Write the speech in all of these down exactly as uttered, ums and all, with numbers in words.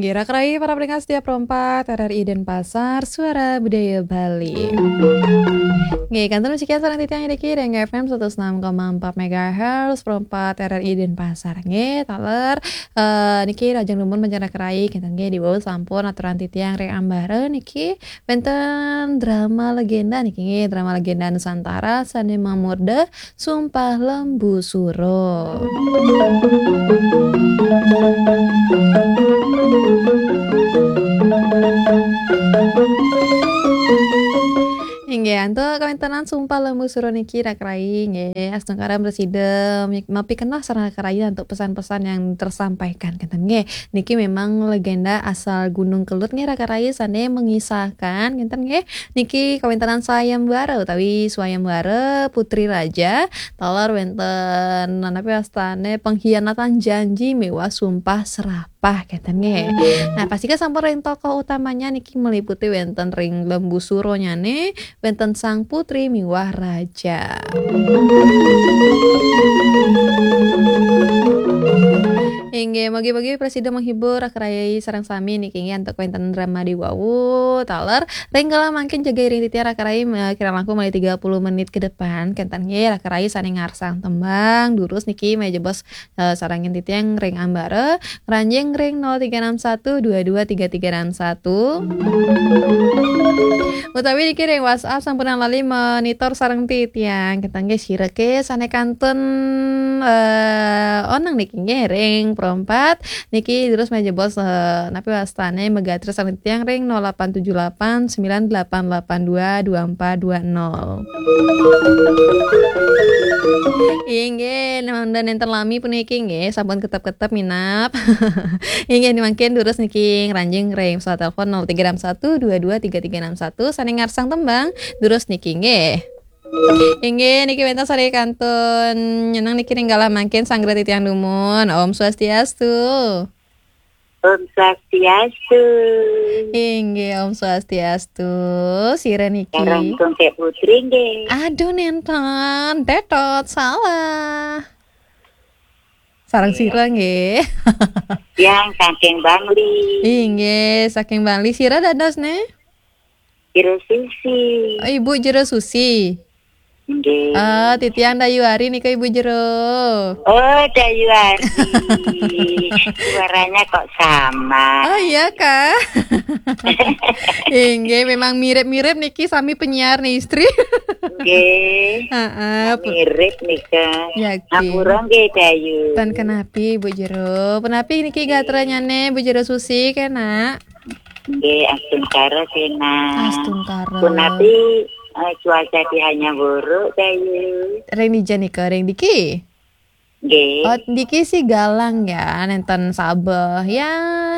Kira kerai para pendengar setia Pro empat R R I Denpasar, Suara Budaya Bali. Nggih, kantun sekian sareng titiang niki ring F M seratus enam koma empat megahertz, Pro empat R R I Denpasar. Nggih, taler, eh, niki rahajeng dumun panjenengan kerai, kinten nggih diwau sampun aturan titiang ring ambara niki wenten drama legenda niki nggih, drama legenda Nusantara sane mamurda Sumpah Lembu Suro. Inggih, antuk kawentenan Sumpah Lembu Suro niki, Raka Rai, nggih, astungkara prasida mi-, mapikenoh sareng Raka Rai antuk pesan-pesan yang tersampaikan, kinten nggih. Niki memang legenda asal Gunung Kelut nggih, Raka Rai, sane mengisahkan, kinten nggih. Niki kawentenan sayembara utawi swayembara Putri Raja, taler wenten napi wastane pengkhianatan janji miwah sumpah serapah, kinten nggih. Nah, pastika sampun ring tokoh utamanya niki meliputi wenten ring Lembu Suronyane, wenten Sang Putri miwah Raja. Inggih, mugi-mugi prasida menghibur Raka Rai sareng sami niki inggih antuk wenten drama diwawu, taler ring galah mangkin jaga iring titiang Raka Rai, eh, kirang langkung malih tiga puluh menit ke depan, kinten nggih Raka Rai sane ngarsang tembang, durus niki malih jebos, eh, sarengin titiang ring ambara, ngranjing ring nol tiga enam satu dua dua tiga tiga enam satu. Utawi niki ring WhatsApp sampunang lali monitor sareng titiang. Kinten nggih sira ke sane kantun, eh, oneng niki nggih ring Pro empat. Niki terus malih jebos, eh, napi wastane megatra sareng titiang ring nol delapan tujuh delapan sembilan delapan delapan dua dua empat dua nol. Inggih, mangda nenten lami puniki nggih, sampun ketep-ketep minab. Inggih, mangkin durus niki ngranjing ring pesawat telepon nol tiga enam satu dua dua tiga tiga enam satu, sane ngarsang tembang, durus niki nggih. Inggih, niki wenten sare kantun nyeneng niki ring galah mangkin sanggra titiang dumun. Om Swastiastu. Om Swastiastu. Inggih, Om Swastiastu. Sira niki. Sareng Tungkek Putri nggih. Aduh, nenten. Tetot, salah. Sareng sira nggih. Yang saking Bangli. Inggih, saking Bangli. Sira dados ne? Jero Susi. Oh, Ibu Jero Susi. Nggih. Ah, titiang Dayu Ari nika Ibu Jero. Oh, Dayu Ari. Suaranya kok sama. Oh, iya, Kak. Inggih, memang mirip-mirip niki sami penyiar nih, istri. Nggih. Heeh, pu- Mirip nika. Ya, nggih. Ngapura nggih, Dayu. Tan kenapi, Bu Jero. Punapi niki gatranyane Bu Jero Susi, kena? Nggih, astungkara, kena. Astungkara. Punapi, eh, cuaca di Hanyang Wuruk, Dayu? Ring dija nika, ring diki? Nggih. Oh, diki sih galang ya, nenten sabeh. Ya,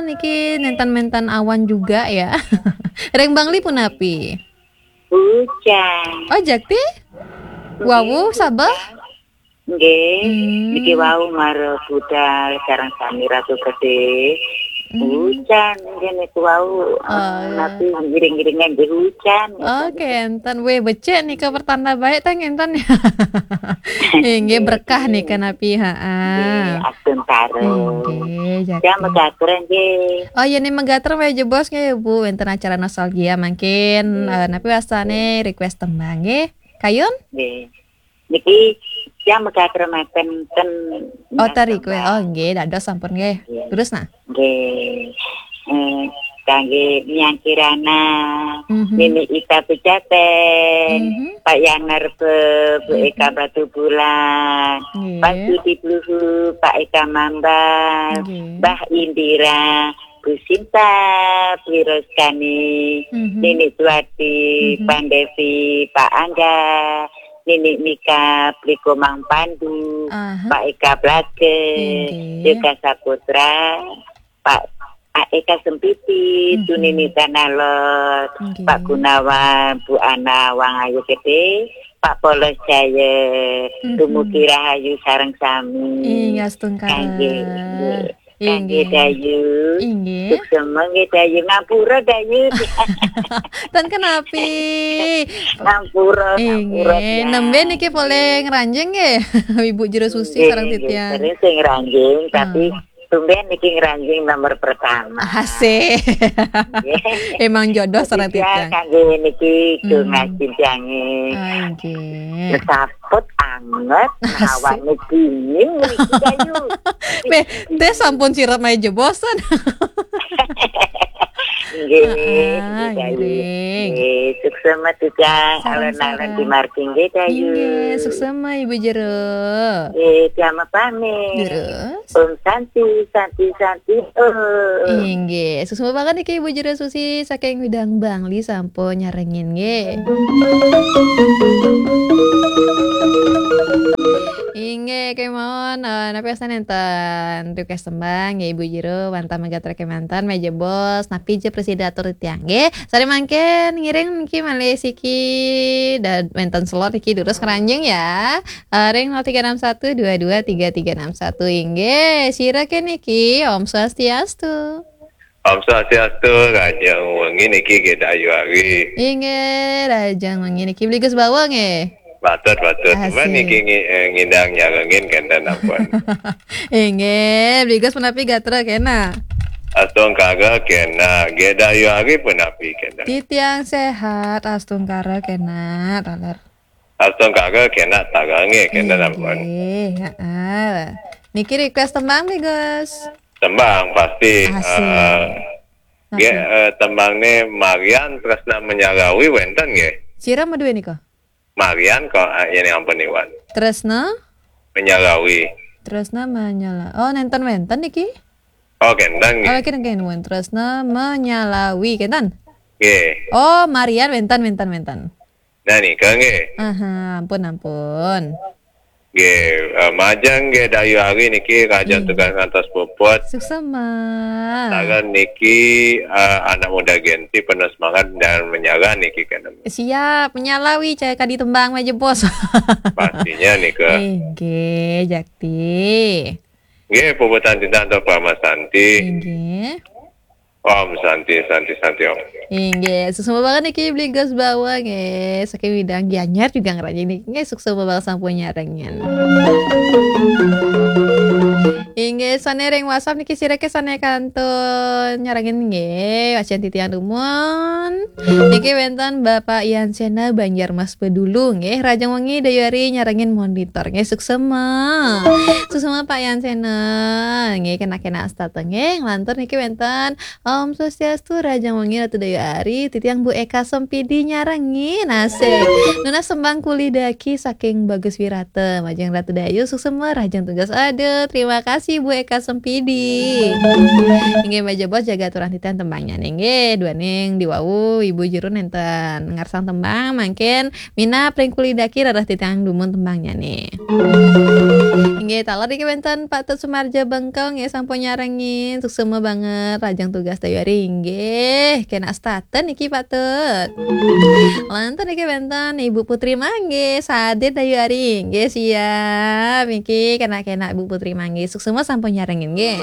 niki nenten-menten awan juga ya. Ring Bangli punapi? Hujan. Oh, jakti? Nggih, wawu, hujan. Sabeh? Nggih. Hmm. Niki wau mara budal sareng sami Ratu Gede. Hmm. Hujan nggih niku wau, eh, oh, iya. Napi ngiring-ngiringan nggih hujan, gitu. Oke, enten. Weh, becik nika pertanda baik ta ngenten. Nggih, nggih, berkah nika napi, ha. Nggih, astungkara. Nggih, jati. Ya, megatreng nggih. Oh, iya, nih megatreng weh jebos nggih, Bu. Wenten acara nostalgia mangkin, nggih, eh, napi wastane request tembang nggih. Kayun? Nggih. Niki yang megatreng meten ten. Oh, tari kue. Oh, nggih, dados sampun nggih. Nggih. Terus nah. Nggih. Eh, kangge Miang Kirana, mhm, Nini Ita Pejaten, mhm, Pak Yang Narbe, Bu, mhm, Eka Batu Bulan, nggih, Pak Sudi Bluhu, Pak Eka Mambal, nggih, Mbah Indira, Bu Sinta, Bu Roskani, mhm, Nini Tuati, mhm, Pan Devi, Pak Angga, Nini Mika, Pliko Mang Pandu, aha, Pak Eka Blage, nggih, Yoga Saputra, Pak, Pak Eka Sempiti, mhm, Tunini Tanalot, nggih, Pak Gunawan, Bu Ana Wang Ayu Gede, Pak Polos Jaya, mhm, dumugi rahayu sareng sami. Inggih, astungkara. Kangge, nggih. Kangge, inggih, Dayu. Inggih. Suksema nggih, Dayu. Ngapura, Dayu. Ten kenapi. Ngapura, ngapura, inggih. Ya. Nembe niki polih ngranjing nggih. Ibu Jero Susi, nggih, sareng nggih, titiang. Sering sing ngranjing, tapi, hmm, Tumben niki ngranjing nomor pertama. Asik. Nggih. Emang jodoh sareng Spesial titiang. Kangge niki, hmm, Tungas Cintiange. Ah, nggih. Saput anget, asik. Hawane dingin niki, Dayu. Beh, teh sampun sirep ae jebosen. Nggih, ah, nggih, Dayu. Nggih. Nggih, suksema titiang, alon-alon di margi, nggih, Dayu. Nggih, suksema, Ibu Jero. Nggih, tiang pamit. Terus? Om Santi, Santi, Santi, Om. Inggih, suksma banget niki Ibu Jero Susi saking Widang Bangli sampun nyarengin nggih. Inggih, kemawon, eh, napi wasta nenten request tembang nggih Ibu Jero, wantah megat kemanten, meja bos, napi je presida atur titiang nggih. Sare mangkin ngiring niki malih siki, dan wenten slot niki durus keranjing ya. Eh, ring nol tiga enam satu dua dua tiga tiga enam satu. Inggih, sira ke niki, Om Swastiastu. Om Swastiastu, rahajeng wengi niki nggih Dayu Ari. Inggih, rahajeng wengi niki Bligus Bawang nggih. Patut, patut. Asik. Cuman niki ngi-, eh, ngidang nyarengin kenten ampun. Inggih, Bligus punapi gatra kena? Astungkara kena, nggih Dayu Ari punapi kenten? Titiang sehat, astungkara kena, taler. Astungkara kena taler nggih, kenten ampun. Inggih, heeh. Niki request tembang, Bligus? Tembang pasti, asik. Eh, nggih, eh, tembangne Marian Tresna Menyalawi wenten nggih? Sira madue nika? Marian kok, eh, yen ampun Iwan. Tresna? Menyalawi. Tresna Menyala-, oh, nenten wenten niki? Oh, kenten nggih. Oh, kenten, kenten, Tresna Menyalawi, kenten? Nggih. Oh, Marian wenten, wenten, wenten. Nah, nika nggih. Aha, ampun, ampun. Nggih, eh, majeng nggih Dayu Ari niki rahajeng tugas ngantos puput. Suksema. Sareng niki, eh, anak muda Gen Z penuh semangat dan menyala niki kenten. Siap, Menyalawi cai kadi tembang meja bos. Pastinya nika. Inggih, jakti. Nggih, puputan titiang antuk Parama Santi. Inggih. Om Santi, Santi, Santi, Om. Inggih, suksma banget niki Bligus Bawang nggih. Saking Widang Gianyar juga ngranjing niki. Nggih, suksma banget sampun nyarengin. Inggih, sane ring WhatsApp niki sira ke sane kantun nyarengin nggih. Wacen titiang dumun. Niki wenten Bapak Ian Sena Banjarmas Bedulu nggih. Rahajeng wengi Dayu Ari nyarengin monitor nggih, suksma. Suksma Pak Ian Sena. Nggih, kena-kena astata nggih. Nglantur niki wenten Om Swastiastu, rahajeng wengi Ratu Dayu Ari, titiang Bu Eka Sempidi nyarengin, asik. Nunas tembang Kulidaki saking Bagus Wirata, majeng Ratu Dayu, suksma, rahajeng tugas. Aduh, terima kasih Bu Eka Sempidi. Inggih, meja bos jaga aturan titiang tembangnya nggih. Duaning diwau Ibu Jero nenten ngarsang tembang, mangkin minab ring Kulidaki rarah titiang dumun tembangnya nih. Inggih, taler niki wenten Pak Tut Sumarja Bengkong nggih sampun nyarengin. Suksma banget, rahajeng tugas Dayu Ari inggih. Kena astata niki Pak Tut. Lantur niki wenten Ibu Putri Mangge, sadir Dayu Ari inggih, siap. Niki kena-kena Ibu Putri Mangge. Suksma sampun nyarengin nggih.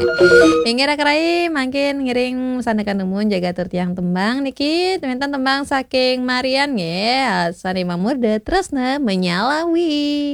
Inggih raka rai, mangkin ngiring sandekan dumun jaga atur tiang tembang niki. Wenten tembang saking Marian nggih. Sane mamurda Tresna Menyalawi.